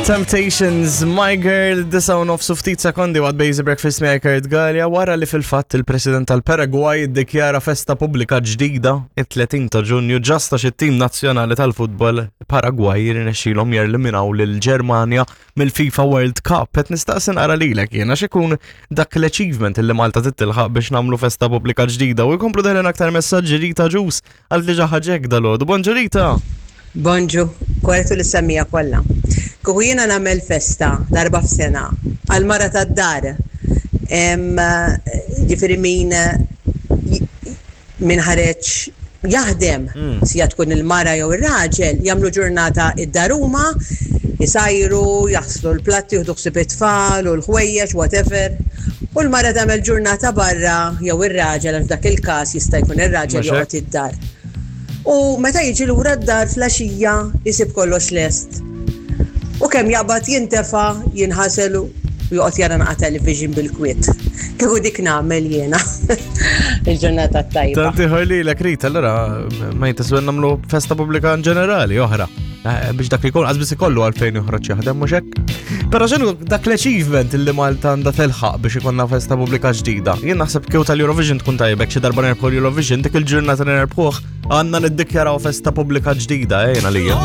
Temptations, My Girl, disa u nofsu ftit sekondi waqt Basic Breakfast miegħi Kurt Gallia wara li fil-fatt il-President tal-Paraguay iddikjara festa pubblika ġdida it-30 ta' Ġunju ġasta xi tim nazzjonali tal-futbol Paraguay jirnexxilhom jerliminaw lil Ġermanja mill-FIFA World Cup. Qed nistaqsi naqra lilek jiena x'ikun dak l-achievement li Malta tittilħaq biex nagħmlu festa pubblika ġdida u jkomplu deħlin aktar messaġġi Rita Ġus għal diġà ħaġek dalgħodu. Bonġu Rita! Bonġu, korrettu lis-semmiegħa kollha. Kieku jiena nagħmel festa darba f'sena għall-mara tad-dar, ġifieri min min ħareġ jaħdem, sija tkun il-mara jew ir-raġel, jagħmlu ġurnata id-dar huma, isajru, jaħslu l-platti, jieħdu ħsieb it-tfal u l-ħwejjeġ, whatever. U l-mara tagħmel ġurnata barra jew ir-raġel għax f'dak il-każ jista' jkun ir-raġel joqgħod id-dar. U meta jiġi lura d-dar fl-għaxija jsib kollox lest. U kemm jaqbad jintefa', jinħasel u joqgħod jara naqa' television bil-kwiet. Kieku dik nagħmel jiena. Il-ġurnata t-tajba. Tant ieħor lilek Rita, allura ma jintasbu nagħmlu festa pubblika in ġenerali oħra. Eh, biex dak li jkun qasbis ikollu għalfejn joħroġ jaħdem mhux hekk. Però x'inhu dak l-achievement li Malta għandha telħaq biex ikollna festa pubblika ġdida. Jien naħseb kieku tal-Eurovision tkun tajbek xi darba nerbħu l-Eurovision dik il-ġurnata li nerbħuh għandna niddikjaraw festa pubblika ġdida ejna eh, lija.